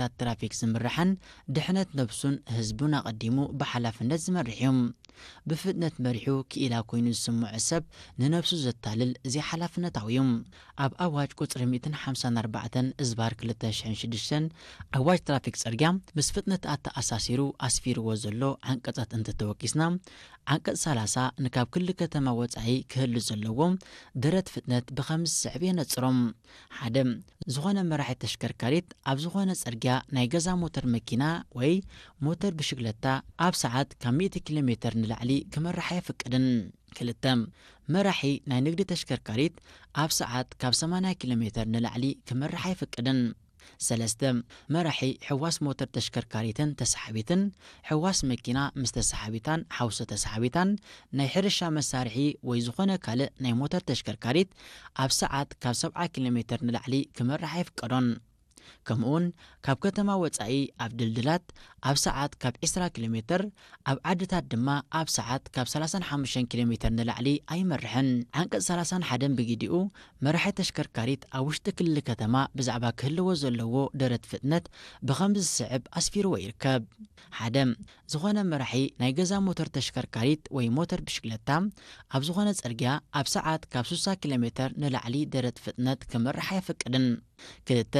ብሕግታት ትራፊክ ዝምራሕን ድሕነት ነብሱን ህዝቡን ኣቐዲሙ ብሓላፍነት ዝመርሕ እዩ። ብፍጥነት መሪሑ ክኢላ ኮይኑ ዝስምዖ ሰብ ንነብሱ ዘታልል ዘይሓላፍነታዊ እዩ። ኣብ ኣዋጅ ቁጽሪ ሚእትን ሓምሳን ኣርባዕተን እዝባር ክልተ ሽሕን ሽዱሽተን ኣዋጅ ትራፊክ ጽርግያ ምስ ፍጥነት ኣተኣሳሲሩ ኣስፊርዎ ዘሎ ዓንቀጻት እንተተወኪስና፣ ዓንቀጽ ሰላሳ ንካብ ክሊ ከተማ ወጻኢ ክህሉ ዘለዎ ደረት ፍጥነት ብኸምዚ ዝስዕብ የነጽሮም። ሓደ፣ ዝኾነ መራሒ ተሽከርካሪት ኣብ ዝኾነ ጽርግያ ናይ ገዛ ሞተር መኪና ወይ ሞተር ብሽግለታ ኣብ ሰዓት ካብ ሚእቲ ኪሎ ሜተር ንላዕሊ ክመርሕ ኣየፍቅድን። ክልተ፣ መራሒ ናይ ንግዲ ተሽከርካሪት ኣብ ሰዓት ካብ ሰማንያ ኪሎ ሜተር ንላዕሊ ክመርሕ ኣይፍቅድን። ሰለስተ፣ መራሒ ሕዋስ ሞተር ተሽከርካሪትን ተሳሓቢትን፣ ሕዋስ መኪና ምስ ተሳሓቢታን ሓውሲ ተሳሓቢታን፣ ናይ ሕርሻ መሳርሒ ወይ ዝኾነ ካልእ ናይ ሞተር ተሽከርካሪት ኣብ ሰዓት ካብ ሰብዓ ኪሎ ሜተር ንላዕሊ ክመርሕ ኣይፍቀዶን። ከምኡውን ካብ ከተማ ወጻኢ ኣብ ድልድላት ኣብ ሰዓት ካብ ዕስራ ኪሎ ሜተር፣ ኣብ ዓድታት ድማ ኣብ ሰዓት ካብ ሰላሳን ሓሙሽተን ኪሎ ሜተር ንላዕሊ ኣይመርሕን። ዓንቀጽ ሰላሳን ሓደን ብግዲኡ፣ መራሒ ተሽከርካሪት ኣብ ውሽጢ ክልል ከተማ ብዛዕባ ክህልዎ ዘለዎ ደረት ፍጥነት ብኸምዚ ዝስዕብ ኣስፊርዎ ይርከብ። ሓደ፣ ዝኾነ መራሒ ናይ ገዛ ሞተር ተሽከርካሪት ወይ ሞተር ብሽክለታ ኣብ ዝኾነ ጽርግያ ኣብ ሰዓት ካብ ስሳ ኪሎ ሜተር ንላዕሊ ደረት ፍጥነት ክመርሕ ኣይፈቅድን። ክልተ፣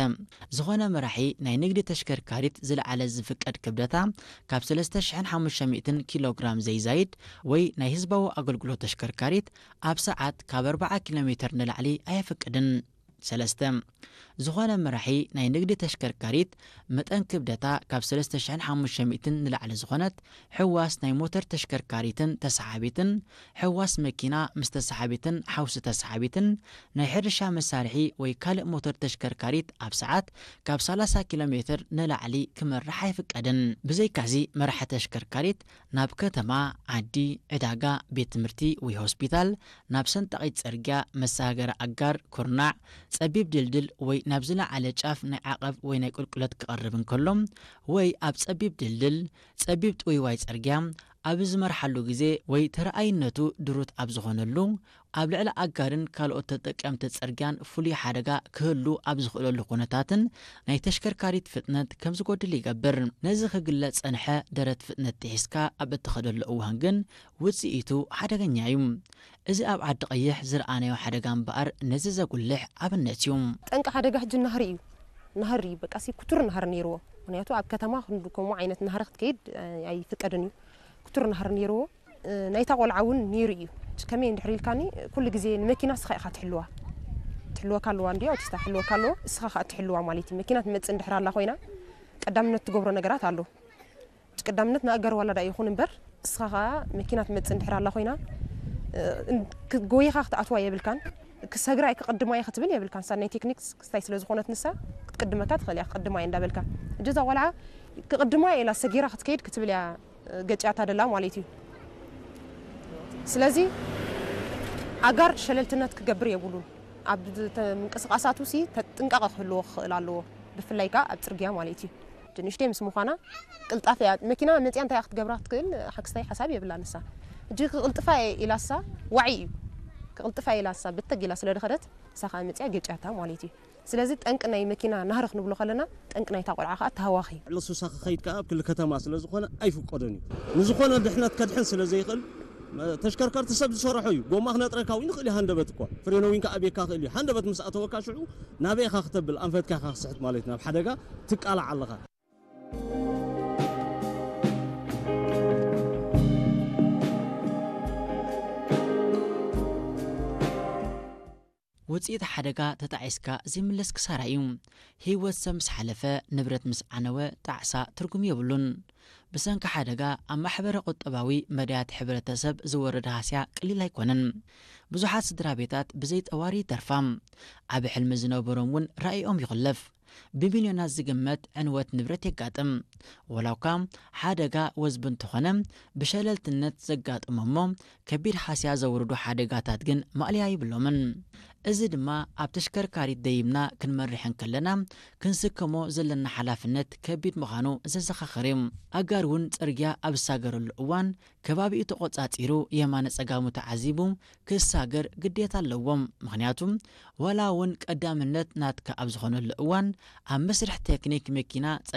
ዝኾነ መራሒ ናይ ንግዲ ተሽከርካሪት ዝለዓለ ዝፍቀድ ክብደታ ካብ ሰለስተ ሽሕን ሓሙሽተ ሚእትን ኪሎ ግራም ዘይዛይድ ወይ ናይ ህዝባዊ ኣገልግሎት ተሽከርካሪት ኣብ ሰዓት ካብ ኣርባዓ ኪሎ ሜተር ንላዕሊ ኣየፍቅድን። ሰለስተ፣ ዝኾነ መራሒ ናይ ንግዲ ተሽከርካሪት መጠን ክብደታ ካብ ሰለስተ ሽሕን ሓሙሽተ ሚእትን ንላዕሊ ዝኾነት ሕዋስ ናይ ሞተር ተሽከርካሪትን ተሰሓቢትን፣ ሕዋስ መኪና ምስ ተሰሓቢትን ሓውሲ ተሰሓቢትን፣ ናይ ሕርሻ መሳርሒ ወይ ካልእ ሞተር ተሽከርካሪት ኣብ ሰዓት ካብ ሰላሳ ኪሎ ሜተር ንላዕሊ ክመርሕ ኣይፍቀድን። ብዘይካዚ መራሒ ተሽከርካሪት ናብ ከተማ፣ ዓዲ፣ ዕዳጋ፣ ቤት ትምህርቲ ወይ ሆስፒታል፣ ናብ ሰንጣቒት ጽርግያ፣ መሰጋገሪ ኣጋር፣ ኩርናዕ፣ ጸቢብ ድልድል ወይ ናብ ዝለዓለ ጫፍ ናይ ዓቐብ ወይ ናይ ቁልቁለት ክቐርብ እንከሎ፣ ወይ ኣብ ጸቢብ ድልድል፣ ጸቢብ ጥውይዋይ ጽርግያ፣ ኣብ ዝመርሓሉ ግዜ ወይ ተረኣይነቱ ድሩት ኣብ ዝኾነሉ፣ ኣብ ልዕሊ ኣጋርን ካልኦት ተጠቀምቲ ጽርግያን ፍሉይ ሓደጋ ክህሉ ኣብ ዝኽእለሉ ኩነታትን ናይ ተሽከርካሪት ፍጥነት ከም ዝጎድል ይገብር። ነዚ ክግለጽ ጸንሐ ደረት ፍጥነት ጥሒስካ ኣብ እትኸደሉ እዋን ግን ውጽኢቱ ሓደገኛ እዩ። እዚ ኣብ ዓዲ ቀይሕ ዝረኣናዮ ሓደጋ እምበኣር ነዚ ዘጉልሕ ኣብነት እዩ። ጠንቂ ሓደጋ ሕጂ ናህሪ እዩ። ናህሪ እዩ፣ በቃ ሲ ክቱር ናህሪ ነይርዎ። ምኽንያቱ ኣብ ከተማ ክንዱ ከምኡ ዓይነት ናህሪ ክትከይድ፣ እ፣ ኣይፍቀድን እዩ። ክቱር ናህሪ ነይርዎ። እ፣ ናይታ ቆልዓ እውን ነይሩ እዩ። ከመይ እንድሕር ኢልካኒ፣ ኩሉ ግዜ ንመኪና እስኻ ኢኻ ትሕልዋ። ትሕልወካ ኣለዋ እንድያ፣ ኣውቲስታ ትሕልወካ ኣለዎ፣ እስኻ ኸኣ ትሕልዋ ማለት እዩ። መኪና ትመጽእ እንድሕር ኣላ ኮይና፣ ቀዳምነት ትገብሮ ነገራት ኣሎ። ቀዳምነት ንኣጋር ዋላ ዳ ይኹን እምበር፣ እስኻ ኸኣ መኪና ትመጽእ እንድሕር ኣላ ኮይና፣ እ፣ እን-፣ ክ-፣ ጎይኻ ክትኣትዋ የብልካን። ክሰግራ እየ፣ ክቕድማ እየ ክትብል የብልካን። ንሳ ናይ ቴክኒክ ክስታይ ስለ ዝኾነት ንሳ፣ ክትቅድመካ ትኽእል እያ፣ ክቕድማ እየ እንዳበልካ። ሕጂ እዛ ቆልዓ ክቕድማ እየ ኢላ ሰጊራ ክትከይድ ክትብል እያ፣ እ፣ ገጭያታ ደላ ማለት እዩ። ስለዚ ኣጋር ሸለልትነት ክገብር የብሉን። ኣብ ተ-፣ ምንቅስቓሳቱ ሲ ተ-፣ ጥንቃቐ ክህልዎ ክኽእል ኣለዎ። ብፍላይ ከኣ ኣብ ጽርግያ ማለት እዩ። እቲ ንእሽተይ ምስ ምዃና ቅልጣፈ እያ። መኪና መጺኣ እንታይ እያ ክትገብራ ክትክእል፣ ሓክስታይ ሓሳብ የብላ ንሳ። ሕጂ ክቕልጥፋ እየ ኢላሳ ዋዒ እዩ። ክቕልጥፋ እየ ኢላሳ ብተግ ኢላ ስለ ድኸደት፣ ንሳ ከኣ መጺኣ ገጭያታ ማለት እዩ። ስለዚ ጠንቂ ናይ መኪና ናህሪ ክንብሎ ከለና፣ ጠንቂ ናይታ ቆልዓ ከኣ ተሃዋኺ። ልዕሊ ሱሳ ክኸይድ ከኣ ኣብ ክሊ ከተማ ስለ ዝኾነ ኣይፍቀዶን እዩ። ንዝኾነ ድሕነት ከድሕን ስለ ዘይኽእል፣ ተሽከርከርቲ ሰብ ዝሰርሖ እዩ። ጎማ ክነጥረካ እውን ይኽእል እዩ፣ ሃንደበት እኳ። ፍሬኖ እውን ከኣ ቤካ ክእል እዩ። ሃንደበት ምስ ኣተወካ ሽዑ ናበይ ኢኻ ክተብል፣ ኣንፈትካ ኢኻ ክስሕት ማለት እዩ። ናብ ሓደጋ ትቃላዕ ኣለኻ። ውጽኢት ሓደጋ ተጣዒስካ ዘይምለስ ክሳራ እዩ። ህይወት ሰብ ምስ ሓለፈ፣ ንብረት ምስ ዓነወ፣ ጣዕሳ ትርጉም የብሉን። ብሰንኪ ሓደጋ ኣብ ማሕበረ ቁጠባዊ መዳያት ሕብረተሰብ ዝወርድ ሃስያ ቀሊል ኣይኮነን። ብዙሓት ስድራ ቤታት ብዘይ ጠዋሪ ይተርፋ። ዓቢ ሕልሚ ዝነበሮም እውን ራእይኦም ይኹለፍ። ብሚልዮናት ዝግመት ዕንወት ንብረት የጋጥም። ወላ እኳ ሓደጋ ወዝቢ እንተኾነ፣ ብሸለልትነት ዘጋጥሞ እሞ ከቢድ ሃስያ ዘውርዱ ሓደጋታት ግን ማእለያ ይብሎምን። እዚ ድማ ኣብ ተሽከርካሪት ደይብና ክንመርሕ እንከለና ክንስከሞ ዘለና ሓላፍነት ከቢድ ምዃኑ ዘዘኻኽር እዩ። ኣጋር እውን ጽርግያ ኣብ ዝሳገረሉ እዋን ከባቢኡ ተቖጻጺሩ የማነ ጸጋሙ ተዓዚቡ ክሳገር ግዴታ ኣለዎም። ምኽንያቱ ዋላ እውን ቀዳምነት ናትካ ኣብ ዝኾነሉ እዋን ኣብ መስርሕ ቴክኒክ መኪና